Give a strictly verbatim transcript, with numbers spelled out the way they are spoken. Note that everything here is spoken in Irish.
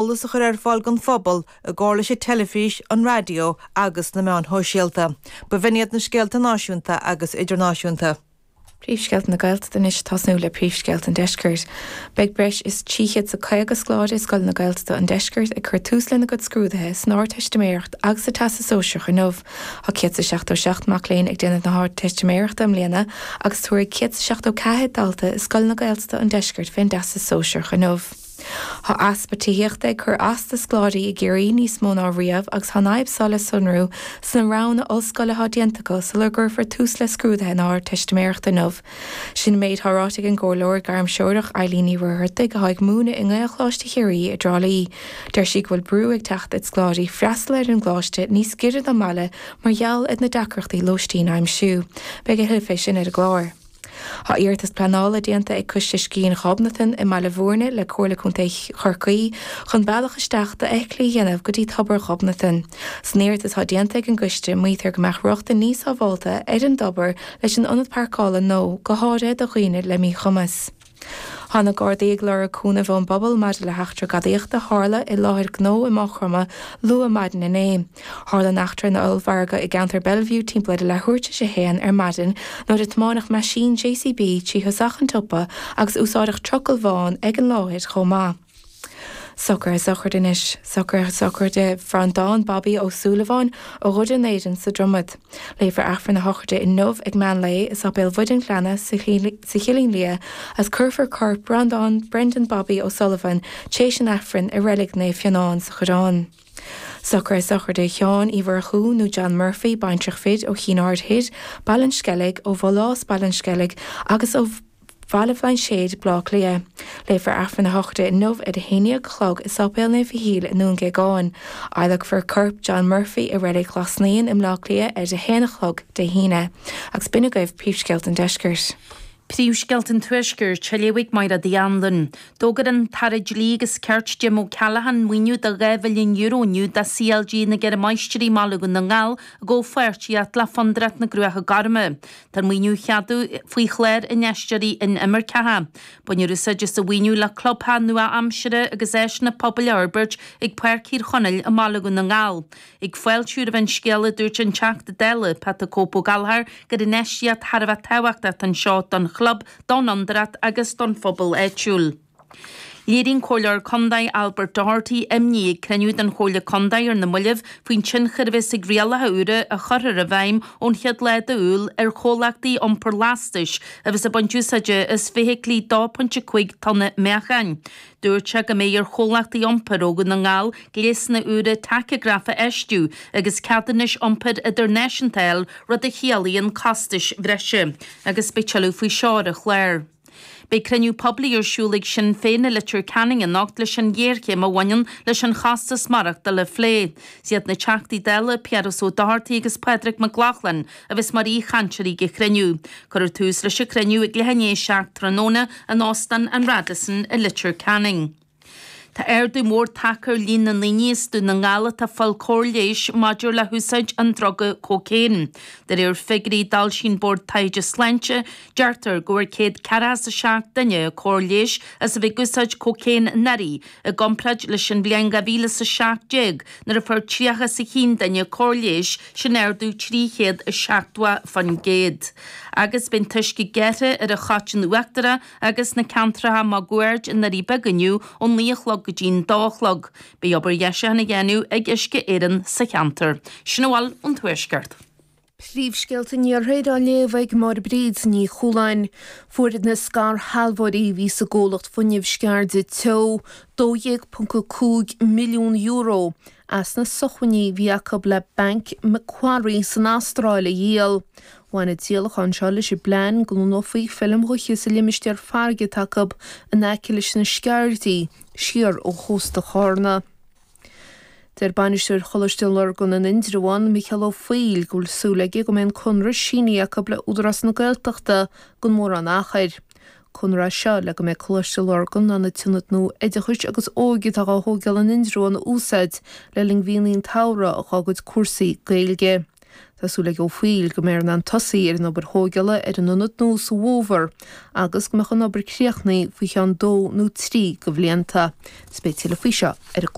Eolas a chur ar fáil don phobal i gcomhar leis an teilifís, an raidió agus na meáin shóisialta. B'in iad na scéalta náisiúnta agus idirnáisiúnta. Príomhscéalta na Gaeltachta anois tosnú le príomhscéalta an Deiscirt. Beidh breis is trí chéad is caoga scoláire i scoileanna Gaeltachta an Deiscirt ag cur tús lena gcuid scrúduithe san Ardteistiméireacht agus sa Teastas Sóisearach inniu. Tá céad is seachtó seacht mac léinn ag déanamh na hArdteistiméireachta i mbliana agus tabharfaidh céad is seachtó ceathair dalta i scoileanna Gaeltachta an Deiscirt fén dTeastas Sóisearach inniu. Tá easpa tithíochta ag cur as do scoláirí i gCiarraí níos mó ná riamh agus tá an fhadhb seo le sonrú sna roghanna ollscoile atá déanta acu sular gcuirfear tús le scrúduithe na hArdteistiméireachta inniu. Sin an méid atá ráite ag an gcomhairleoir gairmthreorach Eileen Ní Mhuircheartaigh atá ag múineadh i nGaelcholáiste Chiarraí i dTrá Lí. Deir sí go bhfuil brú ag teacht ar scoláirí freastal ar an gcoláiste níos giorra don mbaile mar gheall ar na deacrachtaí lóistín a aimsiú. Beidh a thuilleadh fé sin ar an gclár. Tá iarratas pleanála déanta ag Coiste Scian Ghobnatan i mBaile Bhúirne le Comhairle Contae Chorcaí chun bealach isteach d'fheithiclí a dhéanamh go dtí Tobar Ghobnatan. San iarratas atá déanta ag an gcoiste, maítear go mbeadh rochtain níos sábháilte ar an dtobar leis an ionad páirceála nua, go háirithe do dhaoine le míchumas. Tá na Gardaí ag lorg cúnaimh ón bpobal maidir le heachtra gadaíochta a tharla i láthair gnó i Maigh Chromtha luath maidin inné. Tharla an eachtra in ollmhargadh i gceantar Bellevue timpeall ar a leathuair tar éis a haon ar maidin nuair a tiomáineadh meaisín JCB trí thosach an tsiopa agus úsáideadh trucail bhán ag an láthair chomh maith. Socruithe sochraide anois. Socruithe sochraide Bhreandán Bobby Ó Súilleabháin ó Dhoire an Éirinn sa Dromad. Léifear Aifreann na sochraide inniu ag meán lae i Sáipéal Mhuire an Ghleanna sa Chillín Liath agus cuirfear corp Breandán Brendan Bobby O'Sullivan tar éis an Aifrinn i Reilig Naomh Fionán sa Choireán. Socruithe sochraide Sheáin Uí Mhurchú nó John Murphy, baintreach fir ó Chinn Aird Thoir, Baile an Sceilg, ó Bhulás, Baile an Sceilg agus ó Bhaile Bhlainséid, Baile Átha Cliath. Léifear Aifreann na sochraide inniu ar a haon déag a chlog i Sáipéal Naomh Mhichíl i nDún Géagáin. Adhlacfar corp John Murphy i Reilig Ghlas Naíon i mBleá Cliath ar a haon a chlog Dé hAoine. Agus b'in agaibh príomhscéalta an Deiscirt. Príomhscéalta an Tuaiscirt, á léamh ag Máire Uí Anluain. D'fhógair an tAire Dlí agus Cirt Jim O'Callaghan maoiniú de dhá mhilliún euro inniu do CLG na gCeithre Máistrí i mBaile Dhún na nGall i gcomhpháirtíocht le Fondúireacht na gCruacha Gorma. Tá an maoiniú á cheadú faoi chlár Infheisteoirí Inimirceacha. Bainfear úsáid as an mhaoiniú le clubtheach nua-aimseartha agus áiseanna pobail a fhorbairt ag Páirc Thír Chonaill i mBaile Dhún na nGall. Ag fáiltiú roimh an scéala dúirt an Teachta Dála, Pat 'The Cope' Ó Gallchóir, gur infheistíocht thar a bheith tábhachtach atá anseo don chlub, don fhondúireacht agus don phobal áitiúil. Léirigh an Comhairleoir Contae Albert Doherty imní ag cruinniú den Chomhairle Contae ar na mallaibh faoin tionchar a bheas ag rialacha úra a chuirfear i bhfeidhm ón chéad lá d'Iúil ar chomhlachtaí iompair lastais a bheas ag baint úsáide as feithiclí dó pointe cúig tonna meáchain. Dúirt sé go mbeidh ar chomhlachtaí iompair ó Dhún na nGall gléasanna úra tacagraif a fheistiú agus ceadúnais iompair idirnáisiúnta a fháil, rud a chiallaíonn costais bhreise. Agus beidh tuilleadh faoi seo ar an chlár. Beidh cruinniú poiblí ar siúl ag Sinn Féin i Leitir Ceanainn anocht leis an ghéarchéim a bhaineann leis an chostas maireachtála a phlé. Is iad na Teachtaí Dála Piaras Ó Dochartaigh agus Pádraig Mac Lochlainn a bheas mar aoichainteoirí ag an chruinniú. Cuirfear tús leis an chruinniú ag leath i ndiaidh a seacht tráthnóna in Óstán an Radisson i Leitir Ceanainn. Tá ardú mór tagtha ar líon na ndaoine as Dún na nGall atá ag fáil cóir leighis maidir le húsáid an druga cócaon. De réir figiúirí a d'fhoilsigh an Bord Taighde Sláinte, deirtear go bhfuair céad ceathracha is a seacht duine cóir leighis as a bheith ag úsáid cócaon anuraidh, i gcomparáid leis an bhliain dhá mhíle is a seacht déag nuair a fuair tríocha is a haon duine cóir leighis, sin ardú trí chéad is seachtó faoin gcéad. Agus beidh an t-uisce gearrtha ar an Choiteann Uachtarach agus na ceantracha máguaird i nDoirí Beaga inniu ón naoi a chlog go dtí'n dó a chlog. Beidh obair dheisiúcháin á dhéanamh ag Uisce Éireann sa cheantar. Sin a bhfuil ón Tuaisceart. Príomhscéalta an Iarthair á léamh ag Máire Bríd Ní Chualáin. Fuair na scairshealbhóirí a bhí sa gcomhlacht fuinnimh Sceirde Teo dó dhéag ponc a cúig milliún euro as na sócmhainní a bhí acu le Banc Macquarie san Astráil a dhíol. Bhain an díolachán seo leis an bplean go lonnófaí feilm ghaoithe sa limistéar farraige atá acu in aice leis na Sceirdí, siar ó chósta Chárna. Deir bainisteoir Choláiste Lurgan in Indreabhán, Micheál Ó Foighil, go bhfuil súil aige go mbeidh an conradh sínithe acu le Údarás na Gaeltachta gan mórán achair. Conradh é seo le go mbeidh Coláiste Lurgan in ann an t-ionad nua oideachais agus óige atá á thógáil in Indreabhán a úsáid le linn mhíonna an tsamhraidh dá gcuid cúrsaí Gaeilge. Tá súil ag Ó Foighil go mbeifear in ann tosaí ar an obair thógála ar an ionad nua sa bhfómhar agus go mbeadh an obair críochnaithe faoi cheann dó nó trí de bhlianta. Is beidh tuilleadh faoi seo ar an